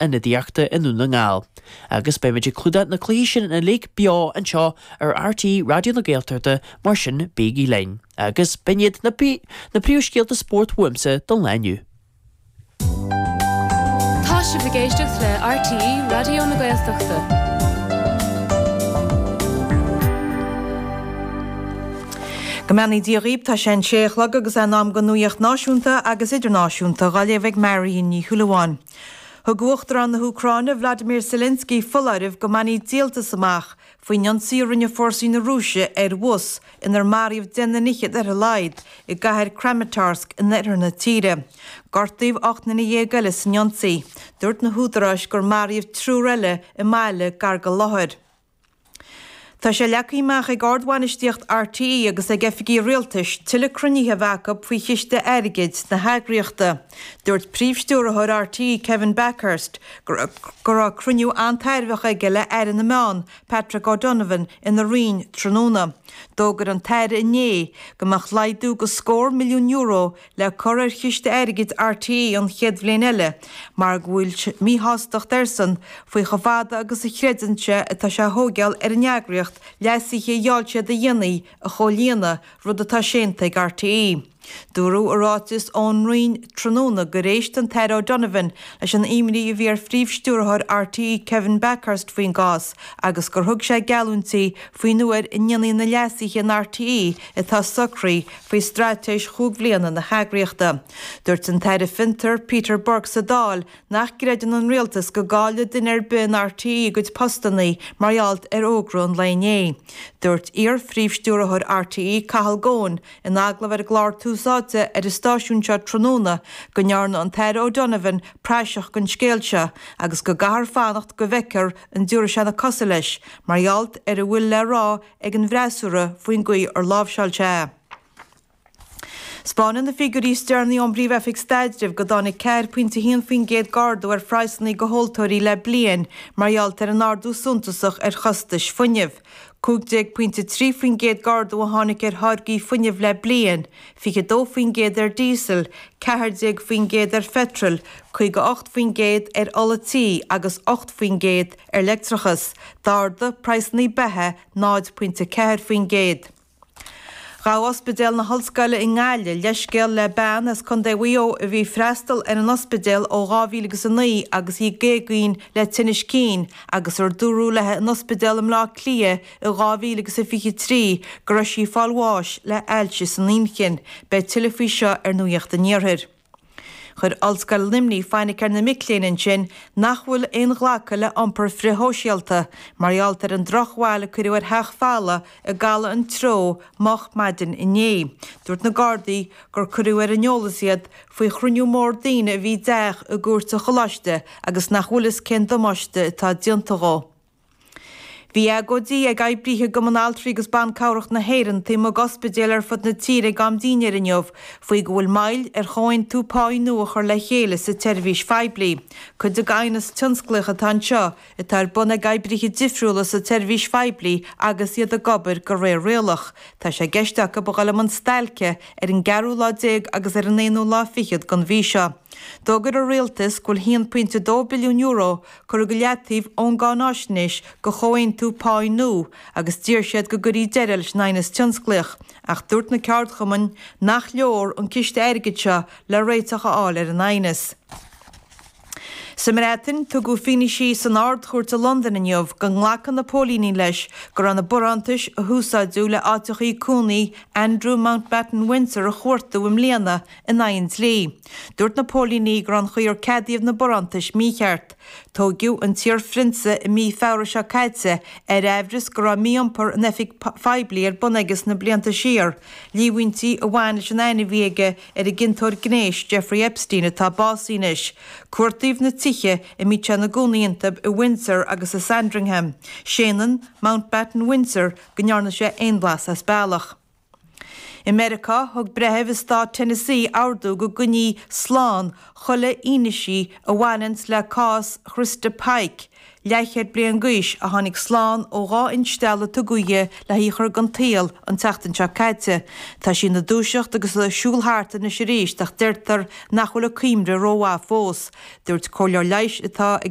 Ionadaíochta i nDún na nGall. Agus beimid ag clúdach na cluichí sin uilig beo anseo ar RTÉ Raidió na Gaeltachta mar sin bígí linn. Agus b'in iad na na príomhscéalta spóirt uaimse don lá inniu. Tá sibh ag éisteacht le RTÉ Raidió na Gaeltachta. Go mbeannaí Dia dhaoib, tá sé an sé a chlog agus é in am don nuaíocht náisiúnta agus idirnáisiúnta dhá léamh ag Marion Ní Shúilleabháin. Thug Uachtarán na hÚcráine, Vladimir Zelensky foláireamh go mbainfí díoltas amach faoin ionsaí a rinne fórsaí na Rúise ar bhus inar maraíodh 10 nduine fhichead ar a laghad i gcathair Kramatorsk in oirthear na tíre. Gortaíodh 18 nduine eile san ionsaí. Dúirt na húdaráis gur maraíodh triúr eile i mbaile gar don láthair. Tá sé leagtha amach ag ardbhainistíocht RTÉ agus ag oifigigh rialtais tuilleadh cruinnithe a bheith acu faoi chiste airgid na heagraíochta. Dúirt Príomh-Stiúrthóir RTÉ Kevin Bakhurst go raibh cruinniú an-tairbheach aige le Aire na Meán, Patrick O'Donovan, ina Roinn tráthnóna. D'fhógair an tAire inné go mbeadh laghdú de scór milliún euro le cur ar chiste airgid RTÉ an chéad bhliain eile mar go bhfuil míshástacht airsean faoi chomh fada agus a chreideann sé atá sé a thóigeáil ar an eagraíocht leasuithe a gheall siad a dhéanamh a chomhlíonadh, rud atá séanta ag RTÉ. Dúradh i ráiteas ón Roinn tráthnóna gur éist an tAire O'Donovan leis an imní a bhí ar Phríomh-Stiúrthóir RTÉ Kevin Bakhurst faoin gcás agus gur thug sé geallúintí faoin uair a ndéanfaí na leasuithe in RTÉ atá socraithe faoi straitéis chúig bhliana na heagraíochta. Dúirt an tAire Fiontar, Peter Burke sa Dáil nach gcreideann an Rialtas go gcaillfidh duine ar bith in RTÉ a gcuid postannaí mar gheall ar fhógra an lae inné. Dúirt iar-phríomh-stiúrthóir RTÉ, Cathal Goan, in agallamh ar an gclár Tús Áite ar an stáisiún seo tráthnóna go ndearna an tAire O'Donovan praiseach den scéal seo agus go gcaithfear fanacht go bhfeicfear an dtiúrfaidh sé na cosa leis mar gheall ar a bhfuil le rá ag an bhfreasúra faoin gcaoi ar láimhseáil sé é. 'Spáineann na figiúirí is deireanaí ón bPríomh-Oifig Staidrimh go dtáinig 4.1% d'ardú ar phraghsanna do thomhaltóirí le bliain mar gheall ar an ardú suntasach ar chostais fuinnimh. 15.3% d'ardú a tháinig ar tháirgí fuinnimh le bliain, 22% ar dhíosal, 14% ar pheitreal, 58% ar ola tí agus 8% ar leictreachas. D'ardaigh praghsanna beatha 0.4%. Ghabh Ospidéal na hOllscoile i nGaillimh leithscéal le bean as Contae Mhaigh Eo a bhí ag freastal ar an ospidéal ó 2009 agus í ag éagaoin le tinnis cinn agus ar dúradh léi in ospidéal i mBleá Cliath i 2023 go raibh sí ag fáil bháis le hailse san inchinn. Beidh tuilleadh faoi seo ar Nuacht an Iarthair. Chuir Ollscoil Luimnigh fainic ar na mic léinn ansin nach bhfuil aon ghlacadh le iompar frithshóisialta mar gheall ar an drochbhail a cuireadh ar theach folamh i gCaladh an Treo moch maidin inné. Dúirt na Gardaí gur cuireadh ar an eolas iad faoi chruinniú mór daoine a bhí i dteach i gcúirt an choláiste agus nach bhfuil fhios cén damáiste atá déanta dhó. Bhí agóidí ag oibrithe i gCumann Altraí agus Ban Cabhrach na hÉireann taobh amuigh d'ospidéil ar fud na tíre ag am dinnéir inniu faoi go bhfuil moill ar chomhaontú páí nua a chur le chéile sa tseirbhís phoiblí. Cuid den aighneas tionsclaíoch atá anseo atá ar bun ag oibrithe difriúla sa tseirbhís phoiblí agus iad ag obair de réir rialach. Tá sé i gceist acu a dhul i mbun stailce ar an gceathrú lá déag agus ar an aonú lá fichead den mhí seo. D'fhógair an Rialtas go bhfuil €1.2 billiún curtha go leataobh ón gcáináisnéis do chomhaontú páí nua agus d'iarr siad go gcuirfí deireadh leis an aighneas tionsclaíoch ach dúirt na ceardchumainn nach leor an ciste airgid seo le réiteach a fháil ar an aighneas. Sa mBreatain, tugadh fianaise san Ard-Chúirt i Londain inniu go nglacann na póilíní leis go raibh na barántais a húsáideadh le áiteachaí cónaí Andrew Mountbatten-Windsor a chuartú i mbliana in aghaidh an dlí. Dúirt na póilíní go raibh an chaoi ar ceadaíodh na barántais mícheart. Tóigeadh an t-iarphrionsa i mí Feabhra seo caite ar aimhreas go raibh mí-iompar in oifig phoiblí ar bun aige sna blianta siar, líomhaintí a bhain leis an aithne a bhí aige ar an gciontóir gnéis Jeffrey Epstein atá básaithe anois. Cuartaíodh na tithe a mbíodh sé ina gcónaí iontu i Windsor agus i Sandringham. Séanann Mountbatten-Windsor go ndearna sé aon bhlas as bealach. I Meiriceá, thug breitheamh i stát Tennessee ordú go gcoinneofaí slán chuile fhianaise a bhaineanns le cás Christa Pike, leathchéad bliain d'aois, a tháinig slán ó dhá instealladh a tugadh di le hí a chur den tsaol an tseachtain seo caite. Tá sí ina dúiseacht agus ag siúl thart anois arís ach deirtear nach bhfuil a cuimhne rómhaith fós. Dúirt comhairleoir leighis atá ag.